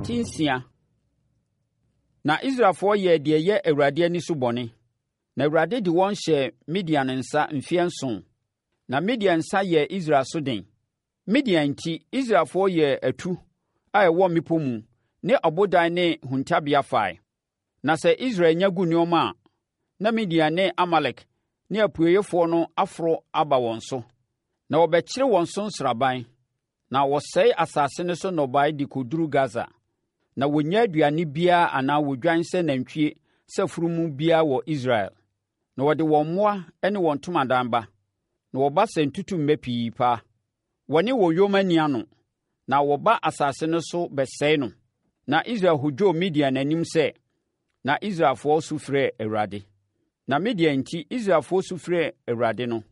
Ti 6. Na Israelfoɔ yɛɛ deɛ ɛyɛ Awurade ani so bɔne, na Awurade de wɔn hyɛɛ Midian nsa mfeɛ nson. Na Midian nsa yɛɛ Israel so den. Midian nti, Israelfoɔ yɛɛ atu a ɛwɔ mmepɔ mu ne ɔbodan ne huntabea fae. Na sɛ Israel nya gu nneɛma a, na Midian ne Amalek ne apueeɛfoɔ no aforo aba wɔn so, na wɔbɛkyere wɔn so nsraban, na wɔsɛe asase no so nnɔbaeɛ de kɔduru Gasa. Na wɔnnya aduane biara anaa odwan sɛ nantwie sɛ afunumu biara wɔ Israel. Na wɔde wɔn mmoa ne wɔn ntomadan ba, na wɔba sɛ ntutummɛ pii paa. Wɔne wɔn yoma nni ano, na wɔba asase no so bɛsɛe no. Na Israel hodwoo Midian anim sɛ, na Israelfoɔ su frɛɛ Awurade. Na Midian nti, Israelfoɔ su frɛɛ Awurade no,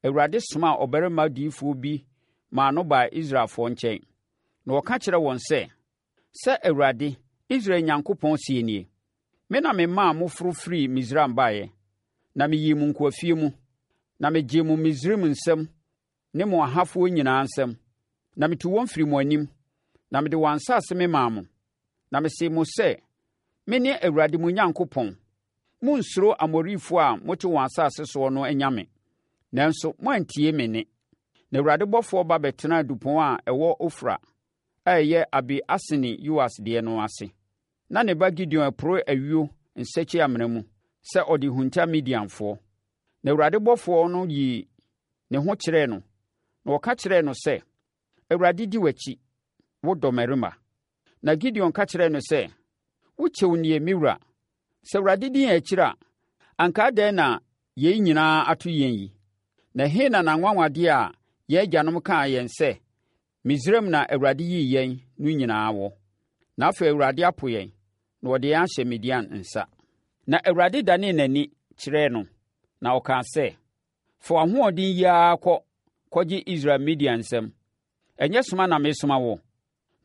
Awurade somaa ɔbarima diyifoɔ bi maa no baa Israelfoɔ nkyɛn, na ɔka kyerɛɛ wɔn sɛ, Sɛ Awurade, Israel Nyankopɔn seɛ nie, Me na memaa moforo firii Misraim baeɛ, na meyii mo nkoafie mu, na megyee mo Misraim nsam ne mo ahafoɔ nyinaa nsam, na metuu wɔn firii mo anim, na mede wɔn asase memaa mo. Na mesee mo sɛ, Mene Awurade mo Nyankopɔn. Monnsuro Amorifoɔ a mote wɔn asase soɔ no anyame. Nanso moantie me nne. Na Awurade bɔfoɔ ba bɛtenaa dupɔn a ɛwɔ Ofra a ɛyɛ Abi-Esrni Yoas deɛ no ase. Na ne ba Gideon reporo ayuo nsakyi-amena mu sɛ ɔde rehunta Midianfoɔ. Na Awurade bɔfoɔ no yii ne ho kyerɛɛ no, na ɔka kyerɛɛ no sɛ, Awurade di w'akyi, wo dɔmmarima. Na Gideon ka kyerɛɛ no sɛ, Wo kyɛw nie, me wura. Sɛ Awurade di yɛn akyiri a, anka adɛn na yei nyinaa ato yɛn yi? Na ɛhe na n'anwanwadeɛ a yɛn agyanom kaa yɛn sɛ, Misraim na Awurade yii yɛn no nyinaa wɔ. Na afei Awurade apo yɛn, na ɔde yɛn ahyɛ Midian nsa. Na Awurade danee n'ani kyerɛɛ no, na ɔkaa sɛ, Fa w'ahoɔden yi ara kɔ kɔgye Israel Midian nsam. Ɛnyɛ soma na meresoma wo?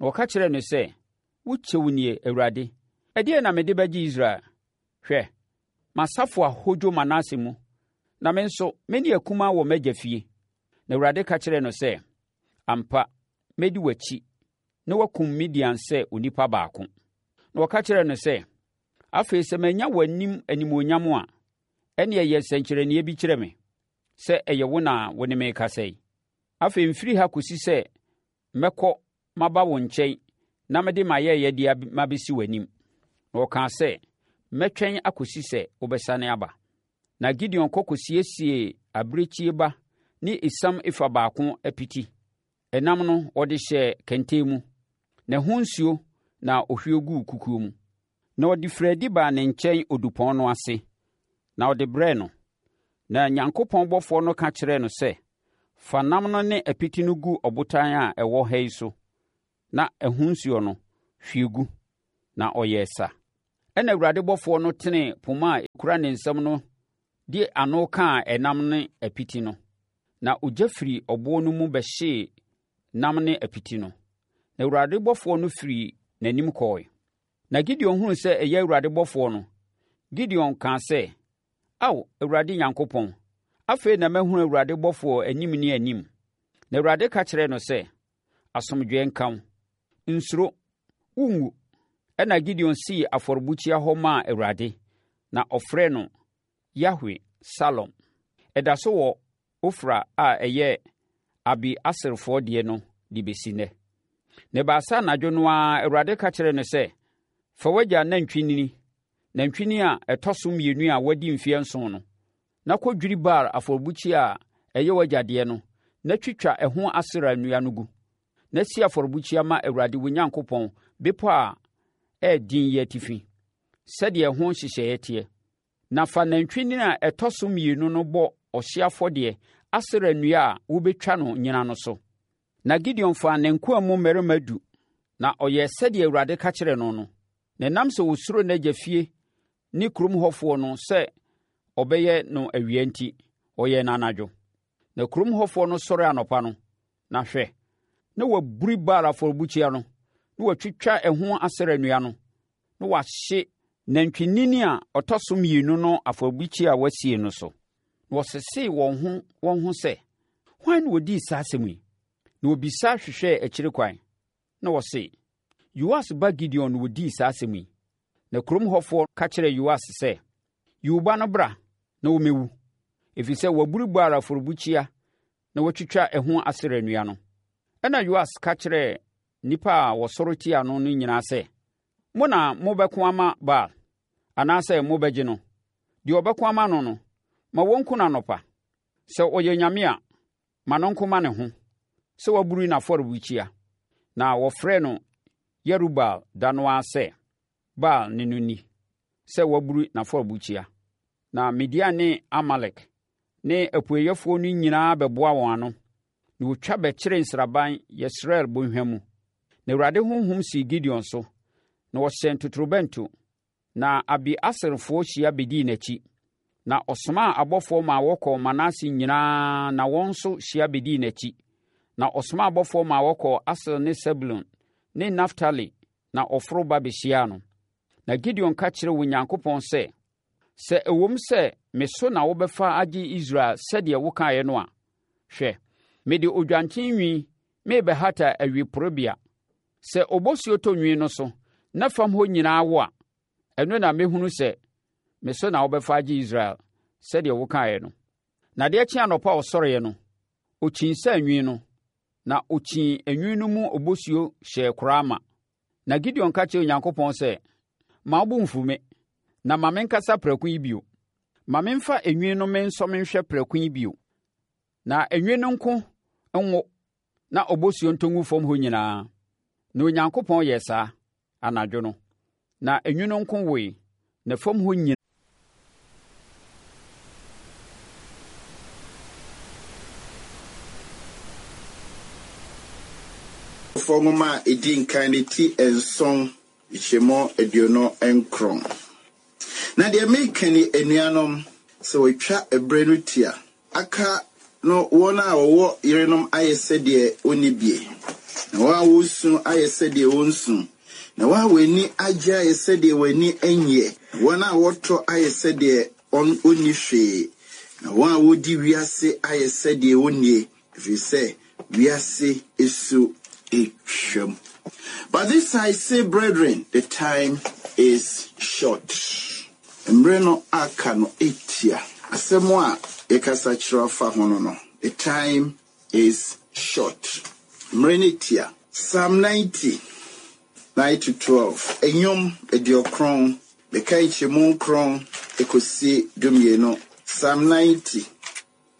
Na ɔka kyerɛɛ no sɛ, Wo kyɛw nie, Awurade. Ɛdeɛn na mede bɛgye Israel? Hwɛ, m'asafo ahodwo Manase mu, na me nso, mene akumaa wɔ m'agya fie. Na Awurade ka kyerɛɛ no sɛ, Ampa, mɛdi w'akyi na woakum Midian sɛ onipa baako. Na ɔka kyerɛɛ no sɛ, Afei sɛ manya w'anim animuonyam a, ɛnneɛ yɛ nsɛnkyerɛnneɛ bi kyerɛ me sɛ ɛyɛ wo na wo ne me rekasa yi. Afei mfiri ha kɔsi sɛ mɛkɔ maba wo nkyɛn na mede m'ayɛyɛdeɛ mabɛsi w'anim. Na ɔkaa sɛ, Mɛtwɛn akɔsi sɛ wobɛsane aba. Na Gideon kɔ kɔsiesiee abirekyie ba ne esiam efa baako apiti. Ɛnam no, ɔde hyɛɛ kɛntɛn mu, na ɛho nsuo na ɔhwie guu kukuo mu. Na ɔde firii adi baa ne nkyɛn odupɔn no ase, na ɔde brɛɛ no. Na Nyankopɔn bɔfoɔ no ka kyerɛɛ no sɛ, Fa nam no ne apiti no gu ɔbotan a ɛwɔ ha yi so, na ɛho nsuo no, hwie gu. Na ɔyɛɛ sa. Ɛnna Awurade bɔfoɔ no tenee poma a ɛkura ne nsam no de ano kaa ɛnam ne apiti no, na ogya firii ɔboɔ no mu bɛhyee nam ne apiti no. Na Awurade bɔfoɔ no firii n'anim kɔɔe. Na Gideon hunuu sɛ ɛyɛ Awurade bɔfoɔ no, Gideon kaa sɛ, Ao, Awurade Nyankopɔn, afei na mahunu Awurade bɔfoɔ anim ne anim. Na Awurade ka kyerɛɛ no sɛ, Asomdwoeɛ nka wo. Nsuro, worenwu. Ɛnna Gideon sii afɔrebukyia hɔ maa Awurade, na ɔfrɛɛ no Yahwe Salom. Ɛda so wɔ Ofra a ɛyɛ Abi-Eserfoɔ deɛ no de bɛsi nnɛ. Na ɛbaa sɛ anadwo no ara Awurade ka kyerɛɛ no sɛ, Fa w'agya nantwinini, nantwinini a ɛtɔ so mmienu a wadi mfeɛ nson no, na kɔdwiri Baal afɔrebukyia a ɛyɛ w'agya deɛ no, na twitwa ɛho Asera nnua no gu, na si afɔrebukyia ma Awurade wo Nyankopɔn bepɔ a ɛyɛ den yi atifi, sɛdeɛ ɛho nhyehyɛeɛ teɛ. Na fa nantwinini a ɛtɔ so mmienu no bɔ ɔhyeɛ afɔdeɛ Asera nnua a wobɛtwa no nyina no so. Na Gideon faa ne nkoa mu mmarima du, na ɔyɛɛ sɛdeɛ Awurade ka kyerɛɛ no no. Na ɛnam sɛ ɔsuro n'agya fie ne kurom hɔfoɔ no sɛ ɔbɛyɛ no awia nti, ɔyɛɛ no anadwo. Na kurom hɔfoɔ no sɔre anɔpa no, na hwɛ, na wɔaburi Baal afɔrebukyia no, na wɔatwitwa ɛho Asera nnua no, na wɔahye nantwinini a ɔtɔ so mmienu no afɔrebukyia a wɔasie no so. Na wɔsesee wɔn ho wɔn ho sɛ, Hwan na ɔdii saa asɛm yi? Na wɔbisa hwehwɛɛ akyiri kwan, na wɔse, Yoas ba Gideon na ɔdii saa asɛm yi. Na kurom hɔfoɔ ka kyerɛɛ Yoas sɛ, Yi wo ba no bra na ɔmmɛwu, ɛfiri sɛ waburi Baal afɔrebukyia na watwitwa ɛho Asera nnua no. Ɛnna Yoas ka kyerɛɛ nnipa a wɔsɔre tiaa no no nyinaa sɛ, Mo na mobɛko ama Baal, anaasɛ mobɛgye no? Deɛ ɔbɛko ama no no, ma wɔnku no anɔpa. Sɛ ɔyɛ nyame a, ma no nko ma ne ho, sɛ waburi n'afɔrebukyia. Na wɔfrɛɛ no Yerubaal da no ara sɛ, Baal ne no ni, sɛ waburi n'afɔrebukyia. Na Midian ne Amalek ne apueeɛfoɔ no nyinaa bɛboa wɔn ano, na wɔtwa bɛkyeree nsraban Yesreel bɔnhwa mu. Na Awurade honhom sii Gideon so, na ɔhyɛn totorobɛnto, na Abi-eserfoɔ hyia bɛdii n'akyi. Na ɔsomaa abɔfoɔ maa wɔkɔɔ Manase nyinaa na wɔn nso hyia bɛdii n'akyi. Na ɔsomaa abɔfoɔ maa wɔkɔɔ Aser ne Sebulon ne Naftali na ɔforo ba bɛhyiaa no. Na Gideon ka kyerɛɛ Onyankopɔn sɛ, Sɛ ɛwom sɛ me so na wobɛfa agye Israel sɛdeɛ wokaeɛ no a, hwɛ, mede odwanten nwi merebɛhata ayuporebea. Sɛ obosuo tɔ nwi no so na fam hɔ nyinaa wo a, ɛno na mɛhunu sɛ me so na wobɛfa agye Israel, sɛdeɛ wokaeɛ no. Na adeɛ kyee anɔpa a ɔsɔreeɛ no, ɔkyinsaa nwi no, na ɔkyii nwi no mu obosuo hyɛɛ koraa ma. Na Gideon ka kyerɛɛ Onyankopɔn sɛ, Mma wo bo mmfu me, na ma menkasa prɛko yi bio. Ma memfa enwi no mensɔ menhwɛ prɛko yi bio. Na enwi no nko nwo na obosuo ntɔ ngu fam hɔ nyinaa. Na Onyankopɔn yɛɛ saa anadwo no. Na enwi no nko woe, na fam hɔ nyinaa. Korintofoɔ nwoma a ɛdi nkan no ti nson nkyɛmu 29. Na deɛ mereka ni, anuanom, sɛ wɔatwa ɛberɛ no tia, aka no wɔn a wɔwɔ yerenom ayɛ sɛ deɛ wɔnni bie, na wɔn a wɔresu ayɛ sɛ deɛ wɔnsu, na wɔn a wɔn ani agye ayɛ sɛ deɛ wɔn ani nnyeɛ, na wɔn a wɔtɔ ayɛ sɛ deɛ wɔnni hwee, na wɔn a wɔdi wiase ayɛ sɛ deɛ wɔnnie, ɛfiri sɛ wiase su retwam. But this I say, brethren, the time is short. Mmerɛ no aka no tia. Asɛm a yɛkasa kyerɛ afa ho no no, the time is short. Mmerɛ no tia. Psalm 90, 9 to 12, Nnwom 90, meka nkyɛmu nkron kɔsi dumienu. Psalm 90.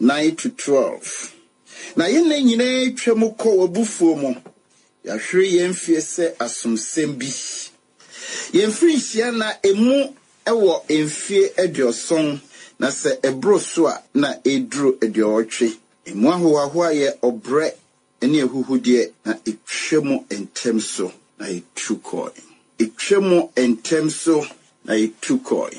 9 to 12. Na yɛn nna nyinaa twa mu kɔ w'abufuo mu, yɛahwere yɛn mfeɛ sɛ asomsɛm bi. Yɛn mfirinhyia nna emu wɔ mfeɛ aduɔson, na sɛ ɛboro so a, na ɛreduru aduɔwɔtwe. Emu ahohoahoa yɛ ɔbrɛ ne ahuhudeɛ, na ɛtwa mu ntɛm so, na ɛtu kɔe. Ɛtwa mu ntɛm so, na ɛtu kɔe.